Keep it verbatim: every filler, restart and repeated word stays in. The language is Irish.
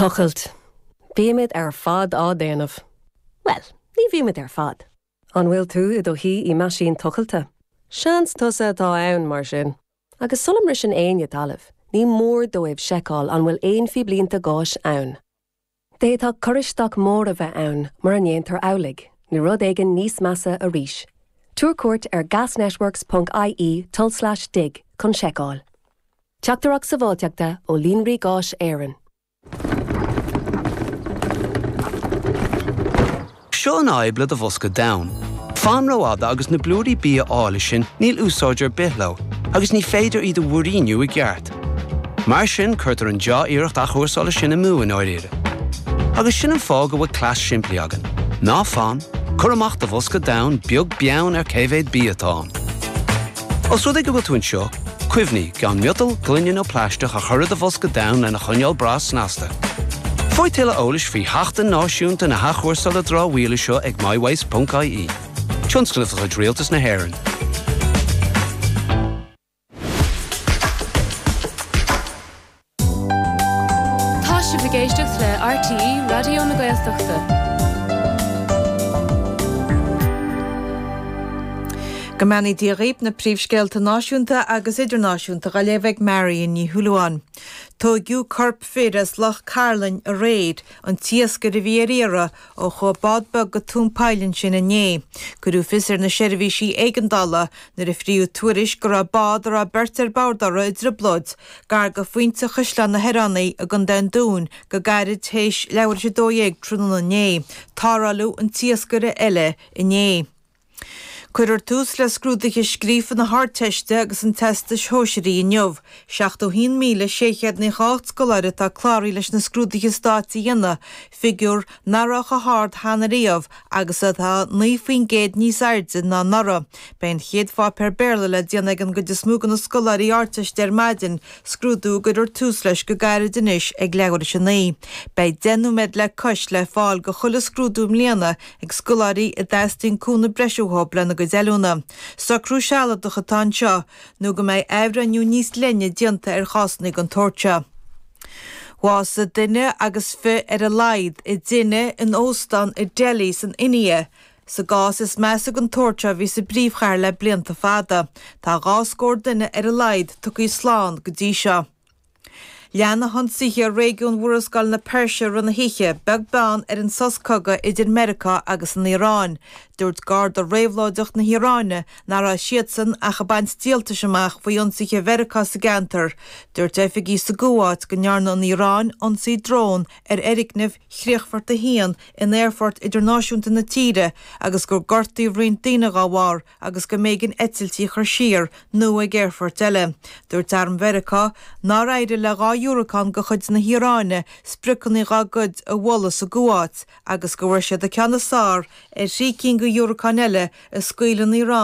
Tochailt. Bímid ar fad á déanamh. Well, ní bhímid ar fad. An bhfuil tú i do shuí i meaisín tochailte. Seans tusa atá ann mar sin. Agus sula mbriseann éinne talamh, ní mór dóibh seiceáil an bhfuil aon phíblínte gáis ann. D'fhéadfadh cur isteach mór a bheith ann mura ndéantar amhlaidh, nó rud éigin níos measa arís. Tabhair cuairt ar gasnetworks.ie tulslais dig chun seiceáil. Teachtaireacht sábháilteachta ó Líonraí Gáis Éireann. Seo an fhadhb le do bhosca donn. Fan rófhada agus na blúirí bia áille sin níl úsáid ar bith leo, agus ní féidir iad a mhúiríniú i gceart. Mar sin cuirtear an dea-iarracht athchúrsála sin amú i ndáiríre. Agus sin an fáth go bhfuil cleas simplí againn. Ná fan, cuir amach do bhosca donn beag beann ar cé mhéad bia atá ann. Os rud é go bhfuil tú anseo, cuimhnigh gan miotal, gloine nó plaisteach a chur i do bhosca donn lena choinneáil breá snasta. Faigh tuilleadh eolais faoi Sheachtain Náisiúnta na hAthchúrsála Dramhaíola seo ag mywaste.ie. Tionscnamh de chuid Rialtas na hÉireann. Tá sibh ag éisteacht le RTÉ Raidió na Gaeltachta. Go mbeannaí Dia dhaoibh, na príomhscéalta náisiúnta agus idirnáisiúnta á léamh ag Marion Ní Shúilleabháin. Tóigeadh corp fir as Loch Cairlinn aréir, an t-iascaire a bhí ar iarraidh, ó chuaigh bád beag go tóin poill ansin inné. Cuireadh fios ar na seirbhísí éigeandála nuair a fríodh tuairisc go raibh bád a raibh beirt ar bord uirthi i dtrioblóid, gar go Phointe Chaisleán na hOireanaí i gContae an Dúin go gairid théis leathuair tar éis a dó dhéag tráthnóna inné. Tarrtháladh an t-iascaire eile inné. Cuirfear tús le scrúduithe scríofa na hArdteiste agus an Teastais Shóisearaigh inniu. seachtó a haon míle sé chéad naocha a hocht scoláire atá cláraithe leis na scrúduithe stáit a dhéanamh, figiúr nach raibh chomh hard cheana riamh agus atá naoi faoin gcéad níos airde ná anuraidh. Beidh an chéad pháipéar Béarla le déanamh ag an gcuid is mó de na scoláirí Ardteiste ar maidin, scrúdú a gcuirfear tús leis go gairid anois ag leathuair tar éis a naoi. Beidh deich nóiméad le cois le fáil do chuile scrúdú i mbliana ag scoláirí a dteastaíonn cúnamh breise uathu lena gcuid oiliúna. Socrú sealadach atá anseo nó go mbeidh athbhreithniú níos leithne déanta ar chásanna den tsórt seo. Bhásaigh duine agus fiche ar a laghad i dtine in óstán i Delhi san India, sa gcás is measa den tsórt seo a bhí sa bpríomhchathair le blianta fada. Tá dhá scór duine ar a laghad tugtha slán go dtí seo. Lean na hionsaithe ar réigiún Mhurascaill na Peirse i rith na hoíche, beag beann ar an sos cogaidh idir Meiriceá agus an Iaráin. Dúirt Garda Réabhlóideach na hIaráine nach raibh siadsan ach ag baint díoltais amach faoi ionsaithe Mheiriceá sa gceantar. Dúirt oifigigh sa gCuáit go ndearna an Iaráin ionsaí drón ar fhoirgneamh Chríochfort a haon in aerfort idirnáisiúnta na tíre agus gur gortaíodh roinnt daoine dá bharr agus go mb'éigean eitiltí a chur siar nó ag aerfoirt eile. Dúirt Arm Mheiriceá nár éirigh le dhá dhiúracán de chuid na hIaráine spriocanna dá gcuid a bhualadh sa gCuáit agus go bhfuair siad an ceann is fearr ar thrí cinn de dhiúracáin eile a scaoil an Iaráin